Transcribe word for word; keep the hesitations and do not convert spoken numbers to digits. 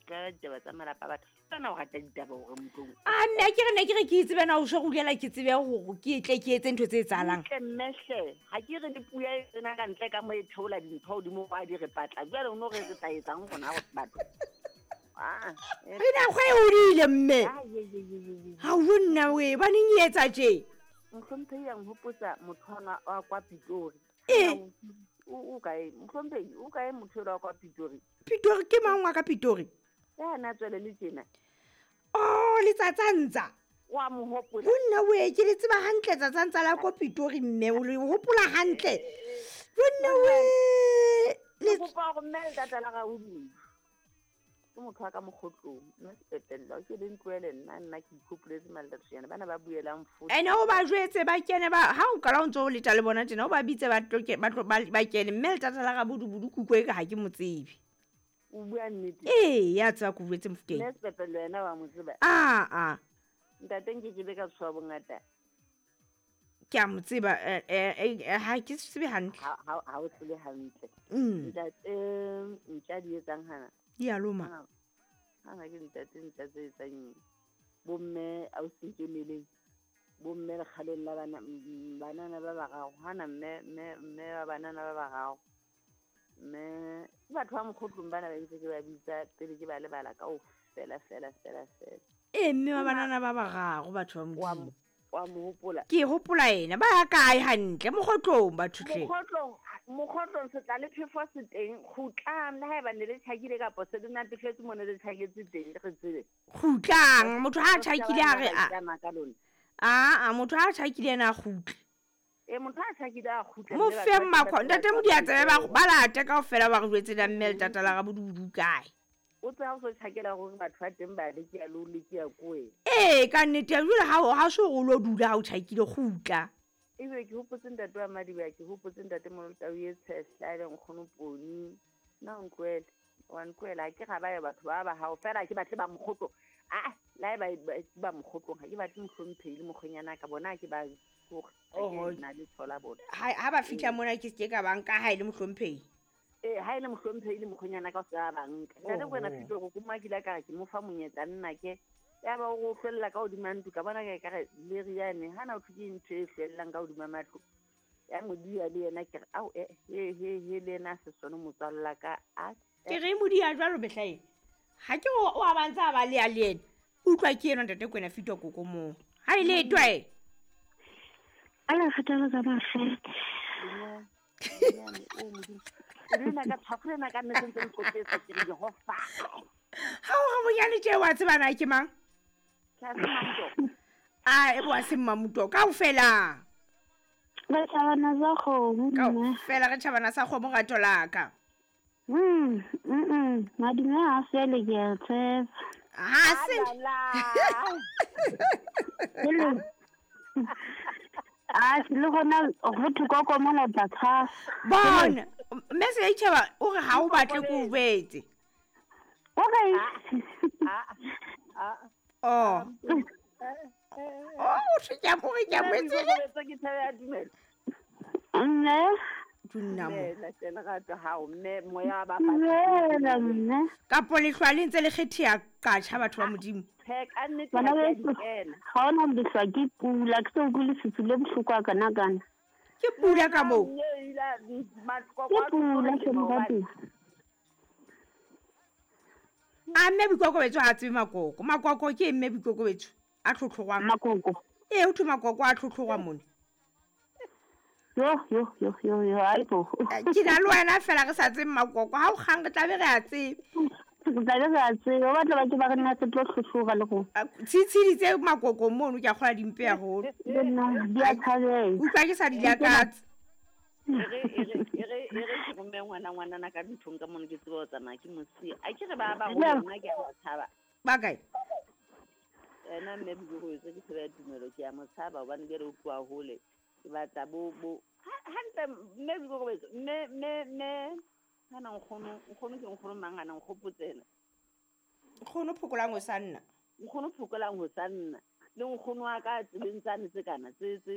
Tlwaela ditaba tsa malapa a batho. Tsena o rata ditaba hore motlong. A mme a ke re ne ke re ke itsebe na o so rulela ke tsebe hore ke tle ke etse ntho tse etsahalang. Ntle mme hle, ha ke re le puya e tsena ka ntle ka mo e theola dintho hodimo wa di re patla. Jwale o no re re tla etsang rona batho. Ah, eh. Re na kgwe e hodile mme. Ah, ye, ye, ye, ye, ye. Ha o nna we ba neng e etsa tje. Mohlomphehi a nhopotsa motho ana wa kwa Pitori. Ee. O, o kae? Mohlomphehi, o kae motho elwa wa kwa Pitori? Pitori ke mang wa ka Pitori? Ya na tswele le tjena. Oh, le tsatsantsa. Wa mo hopola. Ho nna we ke le tseba hantle tsatsantsa la ko Pitori mme o le hopola hantle. Ho nna we. Le Ke kopa hore mme le tata la gao dimo. Ke motho wa ka mokgotlong, mme sepetlele, ke le ntlohele nna, nna ke ikhopoletse malatatsonyana, bana ba buelang fote. Ene o ba jwetse ba kene ba, ha o qala o ntso o leta le bona tjena, o ba bitse ba tlo ke, ba tlo, ba, ba kene, mme letata la Rabodubodu kuku e ka ha ke mo tsebe. O bua nnete? Ee, ya tseba ke o jwetse Mofokeng. Mme sepetlele wena wa mo tseba? Ah, ah. Ntate nke ke be ka tshoha bongata. Ke a mo tseba, eh, eh, eh, ha ke tsebe hantle. Ha, ha, ha o tsebe hantle. Mm. Ntate, ntja di etsang hana? Di a loma. Hana, hana ke ntate ntja tse etsang eng? Bomme ausi Nkemeleng, bomme lekgaleng la bana, mm, banana ba bararo. Hana mme, mme, mme ba banana ba bararo. Mme ke batho ba mokgotlong bana ba ntse ke ba bitsa pele ke ba lebala kaofela, fela, fela, fela. Ee, mme wa banana ba bararo, batho ba Wa Modimo. mo-, wa mo hopola? Ke hopola ena, ba ya kae hantle? Mokgotlong batho tle. Mokgotlong, mokgotlong se tla le phefo se teng, kgutlang le haeba ne le tjhakile kapa se le natefetse mo ne le tjhaketse teng, re tsebe. Kgutlang, motho ha a tjhakile a re a Tsamaya ka lona. Aa, motho ha a tjhakile yena a kgutle. Ee, motho ha a tjhakile a kgutle, Mo mme fe batho ba makho, tla ntate ba Modi a tsebe ba tla ba late kaofela ba re jwetse na mme letata la Rabodubodu kae. O tseba ha o so tjhakela hore batho ba teng ba le ke ya lo le ke ya koe. Ee, ka nnete, jwale ha o, ha so hore o lo dula ha o tjhakile, kgutla. Ebe ke hopotse ntate wa Madiba, ke hopotse ntate Molotau e tshehla, e leng nkgono Poni. Nna o ntlohele, wa ntlohela, ha ke ra ba ya batho ba ba hao, fela ha ke batle ba mokgotlo. Ah, le ha eba ba, ba mokgotlong, ha ke batle mohlomphehi le mokgwenyana ka bona, ha ke ba hore, ha ke Oho. na le letho la bona. Ha, ha ba fihla mona ke se ke ka ba nka ha e le mohlomphehi. Ee, ha e le mohlomphehi le mokgwenyana ka o se ba ba nka. Ntate Oho. Kwena Fito, go kuma ke ile ka re ke mo fa monyetla nna ke. Ya ba o hlwella ka hodima ntlo, ka bona ka re le riane, hana o thwe ke ntho e hlwellang ka hodima matlo. Ya Modia le yena ke re, ao, eh, he, he, he, le yena a se sone motswalla la ka, a, Ke re Modia jwalo mehla ena. Ha ke o, o a ba ntse a ba le ya le yena. Utlwa ke enwa ntate Kwena Fito koko moo. Ha e le twe. Ala kgathala tsa mafete. O Modimo. E le nna ka tshwafo lena ka nnete ntse nqoqetsa ke re Jehova. Ha o re bonyane tje wa tseba na ke mang? Ke a se Mamuto. Ah, e bo a se Mmamuto kaofela. Re tjhabana sa kgomo, Ka mme. fela re tjhabana sa kgomo rato la ka. Mm, mm, mm. Madume ha a fele ke a tshepa. Ha se. Hello. Ah, le gona go thwe koko mona o tla tshasa. Bona, mme se itjheba o re ha o batle ko o jwetse. Okay. Ah, ah, ah. Oh. Oh, o thwe ke a mo re ke a mo Nna etsele. ke ke tshebe ya dumela. Mme. Dunna mo. Mme, hle, lerato hao, mme, moya wa ba Dumela, mme. Kapo lehlwa le ntse le kgetheha qatjha batho ba Modimo. Tjhe, ka nnete Bana ha ke a beso, di kena. ha hona lehlwa ke pula, ke se utlwe lefifi le bohloko ha kana-kana. Ke pula ka moo? Nna, mme, ila, matlokwa Ke a pula, tloha hle, maobane. moratuwa. A mme Boikokobetso ha a tsebe makoko. Makoko ke mme Boikokobetso a tlhotlhorwang. Makoko. Ee, ho thwe makoko a tlhotlhorwa mona. Yo, yo, yo, yo, yo, aibo. Eh, ke na le wena fela re sa tsebe makoko. Ha o kgang re tla be re a tsebe. Re tla be re a tsebe. Ba batla ba ke ba re nna se tlo tlhotlhora le rona. Ah, tshitshidi tse makoko mono ke a kgola dimpe haholo. Le nna, di a tshabeha. Utlwa ke sa di lakatse. E re, e re, e re, e re ke romme ngwana, ngwanana ka nthong ka mono ke tsebe ho tsamaya ke mo siya. A ke re ba ba Nna. hole, nna ke a ba tshaba. Ba kae? Ena mme Boikokobetso ke tshebe ya tumelo, ke a mo tshaba hobane jwale o tloha hole. Ke batla bo, bo, ha, hantle mme Boikokobetso, mme, mme, mme, hana nkgono, nkgono ke nkgono mang hana nkgopotse ena? Nkgono phokolang ho sa nna. Nkgono phokolang ho sa nna. Le nkgono wa ka tseleng tsane tse kana, tse, tse